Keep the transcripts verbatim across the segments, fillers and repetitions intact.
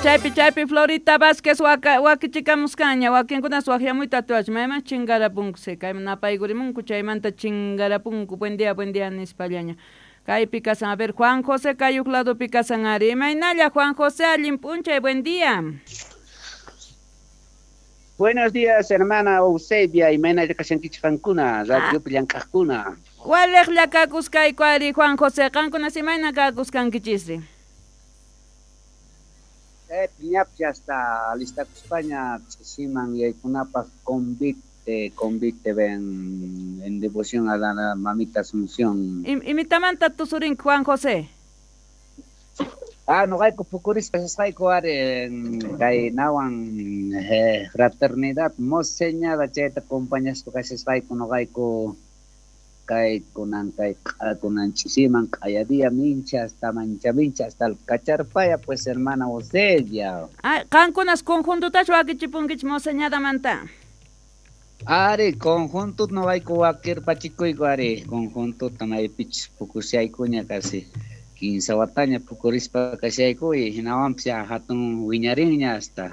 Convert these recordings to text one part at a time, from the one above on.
Chaypi chaypi Florita Vázquez waka wakichikamusqaña wakinkunas waqyamuyta atiwach mayman chinkarapunku kayman napaykurimunku chaymanta chinkarapunku buen día buen día nispallaña kaypi kasan. A ver, Juan José kayuq ladopi kasan ari. Imaynalla Juan José, allin p'unchay, buen día. Buenos días, hermana Eusebia, imaynalla kashankichik qankuna, radiopi llank'aqkuna. Waliqlla kakuskayku ari Juan José, qankunas imayna kakusqankichisri? Eh, ñapis hasta alistakuspaña ch'isiman yaykunapaq convite, convite ven en devoción a la mamita Asunción. Imitamanta tusurinki Juan José? Ah, noqayku pukurispa kasqayku ari kay nawan eh, fraternidad moseñada chayta acompañaspa kashasqayku noqayku kay kunan kay kunan ch'isiman q'aya mincha hasta mancha mincha hasta el Cacharpaya, pues, hermana Eusebia. Ah, qankunas conjuntotachu wakichipunkichik moseñadamanta? Ari, conjunto noqayku wakirpachikuyku ari, conjuntota maypichus pukushaykuña casi kinsa wataña pukurispa kashayku y hinawanpis ya hatun wiñarinña hasta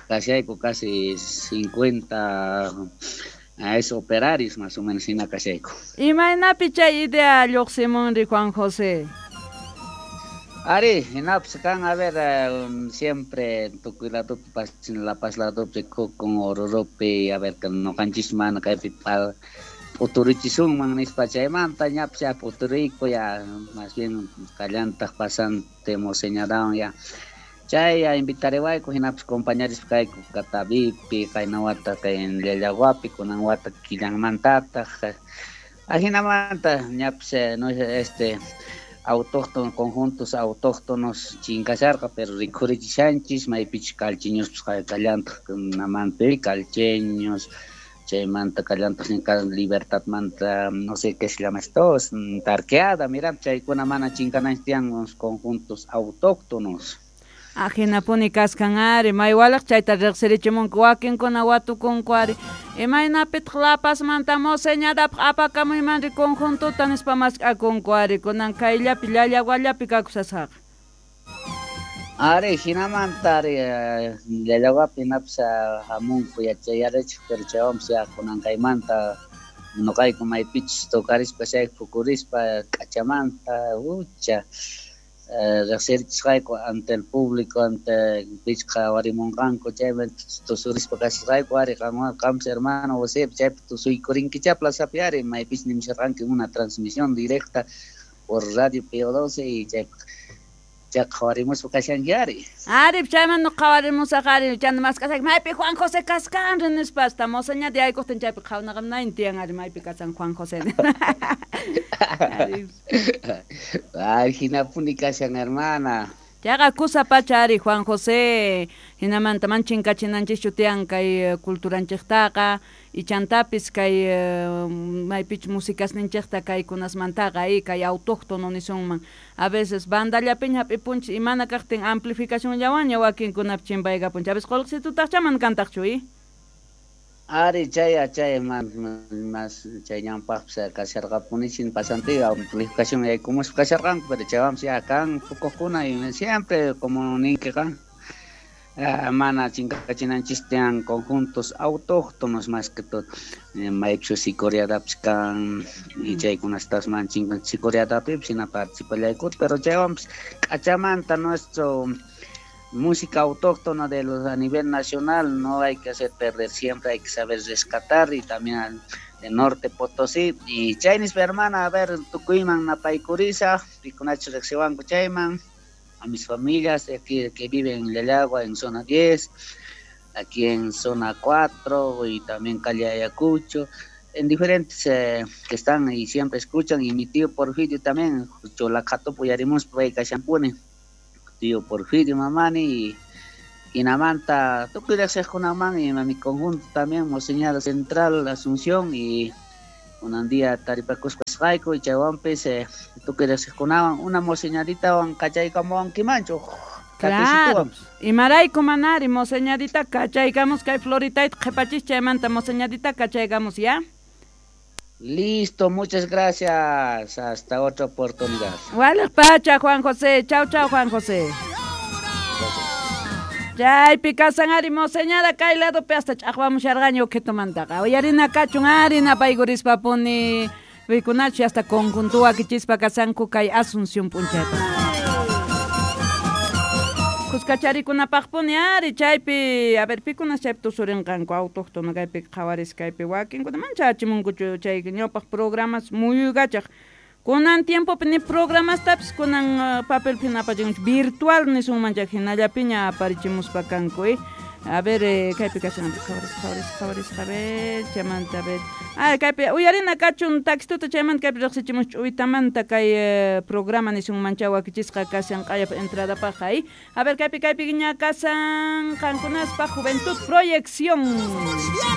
kashayku casi cincuenta a esos operarios más o menos hina kashayku. Imaynapi chay idea lluqsimunri Juan José? Ari, hinapis kan, a ver, um, siempre tukuy ladopi La Paz ladopi kukun Oruropi, a ver, noqanchis mana kaypi p'uturichisunman nispa chaymanta ñapis ya p'uturiyku ya más bien kallantaq pasante moseñadawan ya chay ya invitariwayku hinapis compañerispa kayku Catavipi qayna wata kay Llallawapi kunan wata killanmantataq ajinamanta ñapis no este autóctonos, conjuntos autóctonos chinkasharqa pero rikhurichishanchis maypichus calcheñospis kallantaq namanpi calcheños chaymanta kallantaq Libertadmanta no sé qué se llama esto tarqueada, mira chaykuna mana chinkananchis tiyan conjuntos autóctonos. Ajinapuni kaskan ari maywalaq chayta riqsirichimunku wakinkuna watukunku ari imaynapitaq La Pazmanta moseñadapaq apakamuymanri conjuntota nispa mask'akunku ari kunan kayllapi Llallawallapi kakusasqaqa. Ari hinamanta ari Llallawapi hinapis hamunku yachayarichik pero chaywanpis ya kunan kaymanta noqayku maypichus tocarispa chayku pukurispa k'achamanta ucha riqsirichisqayku ante el público ante pichqa warimunqanku chayman tusurispa kasqayku ari qanwan qampis hermano José chaypi tusuykurinkichá plazapi ari maypis nimusharqanki una transmisión directa por Radio P O doce y chay chay qhawarimuspa kashanki ari. Ari chayman qhawarimusaq ari chayman mask'asaq maypi Juan José kasqanri nispa hasta moseñata yaykuqtin chaypi qhawanaqam tiyan ari maypi kasan Juan José. Ay, hinapuni kashan hermana. Chayqa kusa pacha ari Juan José hinamanta man chinkachinanchikchu tiyan kay culturanchiktaqa ichantapis kay maypich musicasninchikta kaykunasmantaqa y kay autóctono nisunman a veces bandallapiña hap'ipunchik imana kaqtin amplificacionllawanña wakinkunapi chimpaykapunchik a veces qullqisitutaqcha mana kantaqchu y Ari chay chay más chay ñanpaqpis kasharqapunichin pasantiqa amplificación yaykumuspa kasharqanku pero chaywanpis ya kan pukuqkuna y siempre como ninkiqa mana chinkachinanchis tiyan conjuntos autóctonos más que todo maypichus sicoriadapis kan y chaykunastas man chinkan sicoriadapipis hina participallaykuta pero chaywanpis k'achamanta nuestro música autóctona de los a nivel nacional no hay que hacer perder, siempre hay que saber rescatar y también al de Norte Potosí y chaynispa hermana a ver tukuyman napaykurisa pikunachu riqsiwanku chayman a mis familias de aquí que viven en Llallagua en zona diez, aquí en zona cuatro y también calle Ayacucho, en diferentes eh, que están y siempre escuchan y mi tío Porfirio también, Cholacatopo yarimus pay kashanpuni tío Porfirio mamani y hinamanta tukuy riqsiqkunaman y mi conjunto también Moseñada Central Asunción y un día taripakuspa kasqayku y chaywanpis eh, tukuy riqsiqkunawan una moseñaditawan kachaykamuwankimanchu. Claro, imarayku manari moseñadita kachaykamos kay Floritayta qhipachis chaymanta moseñadita kachaykamos ya. Listo, muchas gracias. Hasta otra oportunidad. Wale pacha, Juan José. Chao, chao, Juan José. Gracias. Chaypi kasan ari moseñada kay ladopi hasta ch'aqwamusharqaña ukitumantaqa. Uyarina kachun ari napaykurispa-puni pikunachu hasta conjunto wakichispa kasanku kay Asunción p'unchaypa. Kuskacharikunapaqpuni ari chaypi, a ver, pikunas chaypi tusurinqanku autóctono kaypi qhawaris kaypi wakinkuna mancha achimunkuchu chay ñawpaq programas muyuykachaq. Kunan tiempopi ni programastapis kunan uh, papelpi apachinkuchu virtual nisunman chay hinallapiña aparichimuspa kanku eh. A ver, eh, kaypi kashan, qhawaris, qhawaris, qhawaris, a ver, chaymanta, a ver. Ah, kaypi uyarina kachun taxituta chaymanta kaypi riqsichimus ch'uwitamanta kay eh, programa nisunman chay wakichisqa kashan q'ayap entradapaq eh. A ver, kaypi kaypi ña kasan qankunaspaq Juventud Proyección.